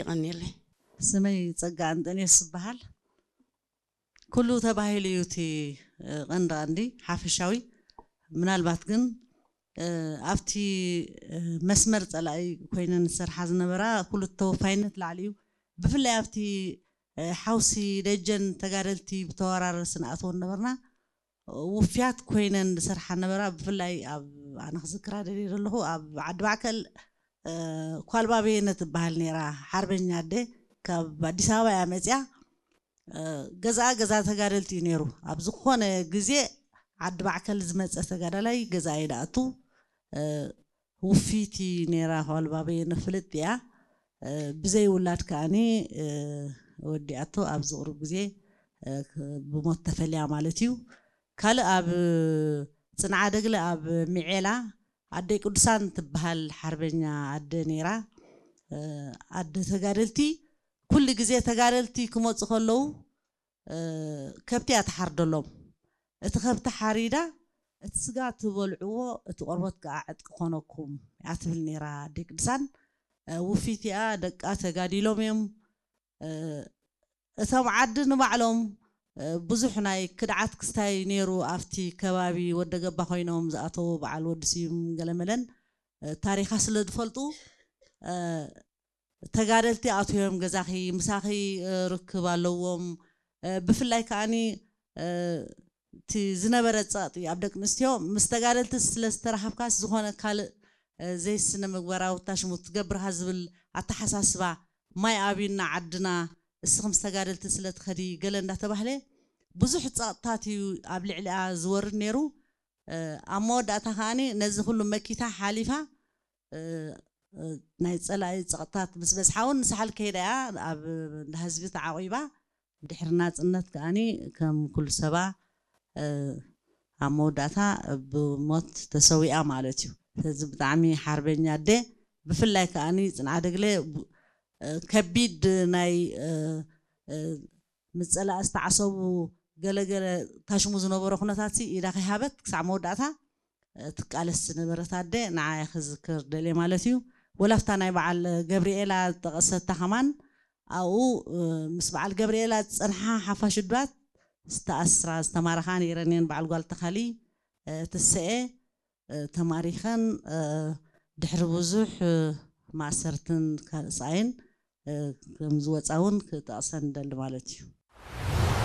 የቐንየለይ። ስመይ ጸጋ እንጠንዮስ ዝበሃል። ኩሉ ተባሂሉ እዩ እቲ ቀንዲ ቀንዲ ሓፈሻዊ። ምናልባት ግን ኣብቲ መስመር ጸላኢ ኮይነን ዝሰርሓ ዝነበራ ኩሉ ተወፋይነት ላዕሊ እዩ። ብፍላይ ኣብቲ ሓውሲ ደጀን ተጋደልቲ ብተወራረሲ ንኣትዎ ነበርና። ውፍያት ኮይነን ዝሰርሓ ነበራ። ብፍላይ ኣብ ኣነ ክዝክራ ደልየ ዘለኹ ኣብ ዓዲ ማእከል ኳልባ በየነ ትበሃል ነይራ፣ ሓርበኛ ኣደ ካብ ኣዲስ ኣበባ እያ መፅያ። ገዛኣ ገዛ ተጋደልቲ እዩ ነይሩ። ኣብ ዝኾነ ግዜ ዓዲ ማዕከል ዝመፀ ተጋዳላይ ገዛኣ እዩ ደኣቱ። ውፊቲ ነይራ ኳልባ በየነ ፍልጥ እያ። ብዘይ ውላድ ከኣኒ ወዲኣቶ ኣብ ዝቕሩብ ግዜ ብሞት ተፈልያ ማለት እዩ። ካልእ ኣብ ፅንዓ ደግለ ኣብ ሚዔላ ኣደይ ቅዱሳን ትበሃል ሓርበኛ ኣደ ነይራ። ኣደ ተጋደልቲ ኩሉ ግዜ ተጋደልቲ ክመፁ ከለዉ ከብቲ እያ ትሓርደሎም። እቲ ከብቲ ሓሪዳ እቲ ስጋ ትበልዕዎ እቲ ቆርበት ከዓ ዕጥቂ ኮነኩም እያ ትብል ነይራ ኣደይ ቅዱሳን። ውፊት እያ፣ ደቃ ተጋዲሎም እዮም። እቶም ዓዲ ንባዕሎም ብዙሕ ናይ ክድዓት ክስታይ ነይሩ ኣብቲ ከባቢ ወደገባ ኮይኖም ዝኣተዉ በዓል ወዲ ስዩም ገለመለን ታሪኻ ስለ ዝፈልጡ ተጋደልቲ ኣትዮም ገዛኺ ምሳኺ ርክብ ኣለዎም። ብፍላይ ከዓኒ እቲ ዝነበረ ፀቕጢ ኣብ ደቂ ኣንስትዮ ምስ ተጋደልቲ ስለ ዝተረኸብካስ ዝኾነ ካልእ ዘይስነ ምግባራዊ ታሽሙ ትገብርካ ዝብል ኣተሓሳስባ ማይ ኣብዩና ዓድና እስኺ ምስ ተጋደልቲ ስለ ትኸዲ ገለ እንዳተባህለ ብዙሕ ፀቕጥታት እዩ ኣብ ልዕሊኣ ዝወርድ ነይሩ። ኣብ መወዳእታ ከዓኒ ነዚ ኩሉ መኪታ ሓሊፋ ናይ ፀላኢ ፀቕጥታት ምስ በዝሓ እውን ንሳሕል ከይዳ እያ ኣብ እንዳ ህዝቢ ተዓቒባ። ድሕሪ ናፅነት ከዓኒ ከም ኩሉ ሰባ ኣብ መወዳእታ ብሞት ተሰዊኣ ማለት እዩ። ስለዚ ብጣዕሚ ሓርበኛ ኣደ ብፍላይ ከዓኒ ፅንዓ ደግለ ከቢድ ናይ ምፀላእ ዝተዓሰቡ ገለገለ ታሽሙ ዝነበሮ ኩነታት ኢዳ ከይሃበት ክሳዕ መወዳእታ ትቃለስ ዝነበረት ኣደ ንዓይ ክዝክር ደልየ ማለት እዩ። ወላፍታ ናይ በዓል ገብርኤላ ዝጠቐሰታ ከማን ኣብኡ ምስ በዓል ገብርኤላ ዝፀንሓ ሓፋሽ ዱባት ዝተኣስራ ዝተማረኻ ነይረን እየን። በዓል ጓል ተኻሊ ትስኤ ተማሪኸን ድሕሪ ብዙሕ ማእሰርትን ካልእ ስቓይን ከም ዝወፃ እውን ክጠቕሰን ደሊ ማለት እዩ።